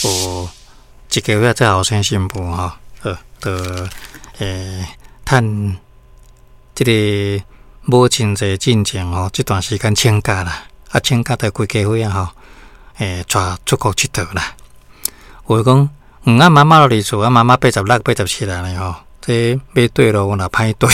有一家伙做後生新婦吼，好，就趁這个母親節進前吼，這段時間請假啦，啊請假就規家伙仔吼，帶出國𨑨迌啦。有的講，啊媽媽落佇厝，啊媽媽86、87啦呢吼，這欲綴路若歹綴。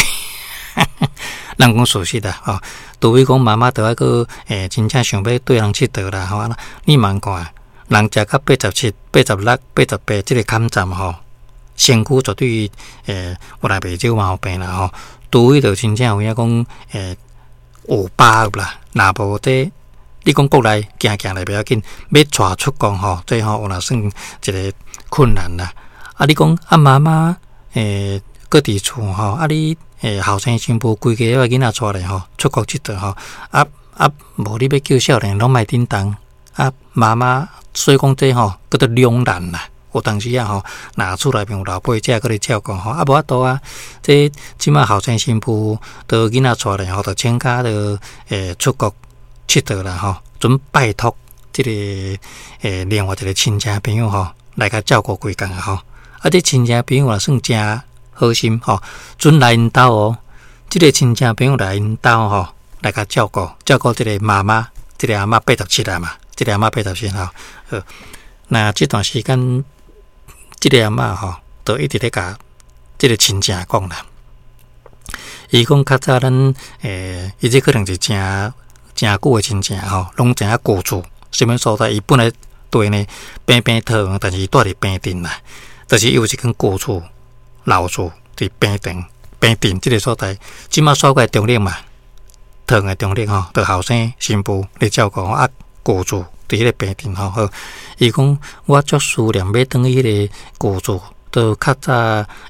人講事實啦，吼，除非講媽媽著愛閣真正想欲綴人𨑨迌啦，吼，你茫看，人食甲87、86、88，這个坎站吼，身軀絕對有來袂少毛病啦吼，除非著真正有影講有把握啦，若無這你講國內行行咧袂要緊，欲帶出國吼，這吼有若算一个困難啦。啊，你講啊媽媽閣佇厝吼，啊你後生新婦規家伙囡仔帶咧吼，出國𨑨迌吼，啊啊無你欲叫少年攏莫振動，啊媽媽所以講這吼叫做兩難啦。有當時啊吼，若厝內面有老輩者閣咧照顧吼，啊無法度啊。這這馬後生新婦都囡仔帶咧吼，就請假就出國𨑨迌啦吼，準拜託這个另外一个親戚朋友吼來共照顧幾工啊吼。啊，這親戚朋友也算誠好心吼，準來𪜶兜哦。這个親戚朋友來𪜶兜吼，來共照顧照顧這个媽媽，這个阿嬤87啦嘛，這个阿嬤八十七吼。好，那這段時間，這个阿嬤吼，就一直咧共這个親戚講啦。伊講較早咱伊這可能是誠誠久的親戚吼，攏知影舊厝啥物所在。伊本來住呢平平桃園，但是伊住佇平鎮啦，就是伊有一間舊厝。老厝佇平鎮，平鎮這个所在，這馬煞過來中壢嘛，桃園的中壢吼，著後生新婦咧照顧啊，舊厝佇彼个平鎮吼。好，伊講我足思念欲轉去彼个舊厝，著較早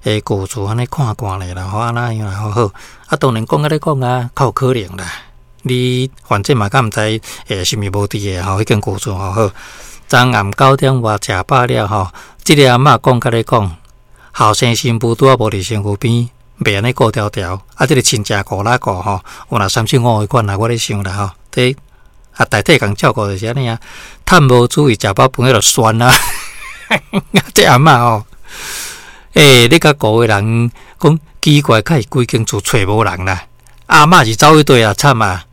的舊厝按呢看看咧啦，吼按怎樣啦，好好。啊，當然講按呢講啊，較有可能啦。你反正嘛，敢毋知是毋是無佇的吼，彼間舊厝吼好。昨暗9點外食飽了吼，這个阿嬤講佮你講。後生新婦拄仔無佇身軀邊，袂按呢顧牢牢。啊，這个親戚顧哪顧吼，有若三七五彼款啦，我咧想啦吼。這啊，代替共照顧就是按呢啊，趁無注意食飽飯彼就酸啊。這阿嬤吼，欸，你共顧的人講奇怪，較是規間厝揣無人啦。阿嬤是走去佗啊，慘啊！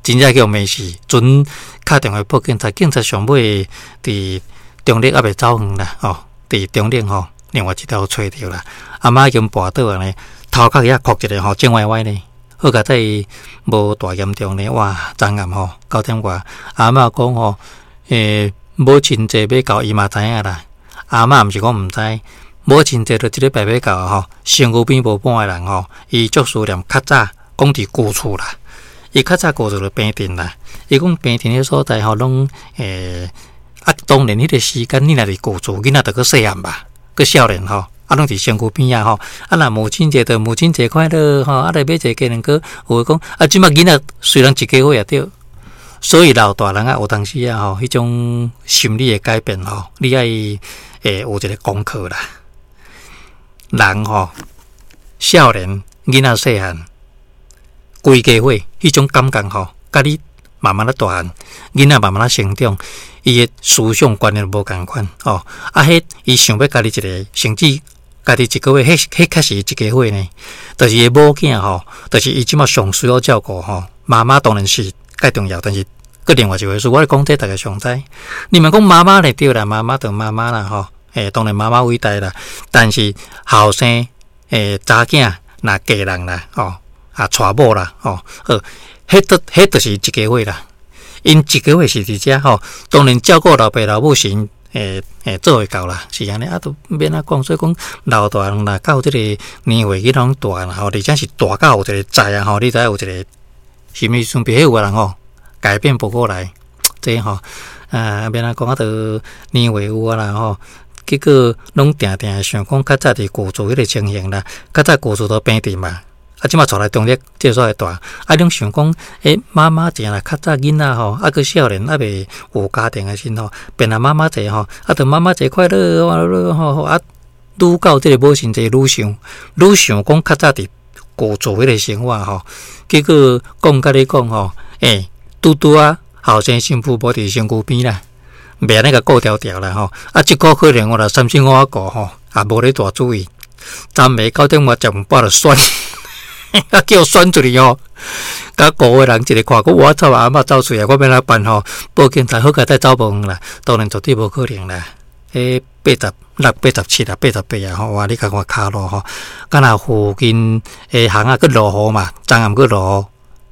真正叫罵死，陣敲電話報警察，警察上尾佇中壢猶未走遠啦，吼，佇中壢吼。另外一條揣著啦，阿嬤已經跋倒啊呢，頭殼遐哭一个吼，正歪歪呢，好佳哉無大嚴重呢，哇，昨暗吼9點外，阿嬤講吼，母親節欲到，伊嘛知影啦。阿嬤毋是講毋知，母親節就這禮拜欲到吼，身軀邊無半个人吼，伊足思念較早講佇舊厝啦，伊較早舊厝就平鎮啦，伊講平鎮彼所在吼，攏啊，當然彼个時間你若佇舊厝，囡仔就閣細漢吧。閣少年吼，啊，攏佇身軀邊仔吼，啊，若母親節就母親節快樂吼，啊，來買一个雞卵糕，有的講啊，這馬囡仔雖然一家伙也對，所以老大人啊，有當時啊吼，彼種心理的改變吼，你愛有一个功課啦。人吼，少年囡仔細漢，規家伙彼種感覺吼，佮你慢慢仔大漢，囡仔慢慢仔成長，伊的思想觀念無仝款吼。啊，彼伊想欲家己一个，甚至家己一个月，彼彼較是一家伙呢。就是伊的某囝吼，就是伊這馬上需要照顧吼。媽媽當然是較重要，但是閣另外一回事。我咧講這逐家上知。你們講媽媽咧對啦，媽媽就媽媽啦吼。當然媽媽偉大啦，但是後生查囝若嫁人啦吼，啊娶某啦吼，好。彼都彼就是一家伙啦，𪜶一家伙是佇遮吼，當然照顧老爸老母是𪜶做會到啦，是按呢啊，都免怎講，所以講老大人若到這个年歲，囡仔攏大啦吼，而且是大到有一个在啊吼，你知影有一个心理準備，彼有的人吼改變不過來，這吼啊免怎講啊，都年歲有啊啦吼，結果攏定定想講較早佇舊厝彼个情形啦，較早舊厝都平鎮嘛。啊，這馬帶來中壢這所在住，啊，攏想講，欸，媽媽一若較早囡仔吼，啊，閣少年，猶未有家庭的時陣吼，變啊媽媽節吼，啊，就媽媽節快樂吼，啊，愈到這个母親節愈想，愈想講較早佇舊厝彼个生活吼，結果講佮你講吼，欸，拄拄仔後生新婦無佇身軀邊啦，袂按呢共顧牢牢啦吼。啊，這個可能我若三星我顧吼，也無咧大注意。昨暝9點外食飯飽就選，啊叫選出去吼，共顧的人一个看講，我操阿嬤走出來，我欲按怎辦吼？報警察好佳哉走無遠啦，當然絕對無可能啦。彼86、87啊，88啊吼，哇！你共看跤路吼，敢若附近的巷仔閣落雨嘛，昨暗閣落雨，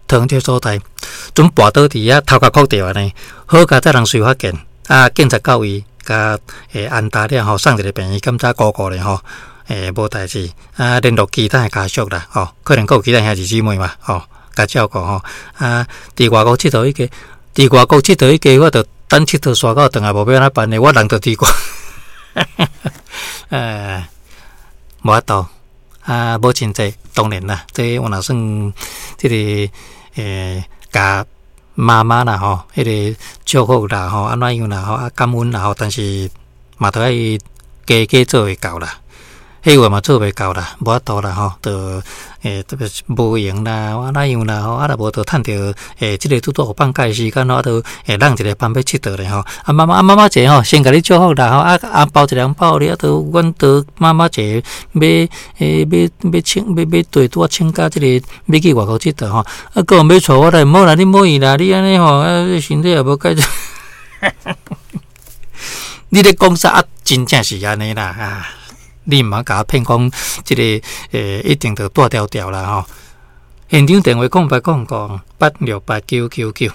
唐這所在，陣跋倒佇遐頭殼磕著按呢，好佳哉人隨發現，啊，警察到位，共安搭了吼，送一个病院檢查顧顧咧吼，無代誌，啊，聯絡其他的家屬啦，吼，可能閣有其他兄弟姊妹嘛，吼，共照顧吼，啊，佇外國𨑨迌彼个，佇外國𨑨迌彼个，我著等𨑨迌煞到轉來無欲按怎辦咧，我人著佇外，無法度，啊，母親節當然啦，這我若算這个共媽媽啦吼，彼个祝福啦吼，按怎樣啦吼，啊感恩啦吼，但是嘛著愛加加做會到啦。彼話嘛做袂到啦，無法度啦吼，著特別是無閒啦，按怎樣啦吼，啊若無著趁著這个拄拄有放假的時間吼，啊著會人一个班欲𨑨迌咧吼。啊媽媽啊媽媽節吼，先共你祝福啦吼，啊啊包一個紅包予你，啊著阮著媽媽節欲欲欲請欲欲綴拄仔請假這個欲去外國𨑨迌吼，啊閣有欲帶我來，毋好啦，你莫去啦，你按呢吼，啊身體也無佳。你咧講啥啊？真正是按呢啦啊！你毋通共我騙講，這个一定著蹛牢牢啦吼。現場電話0800868999。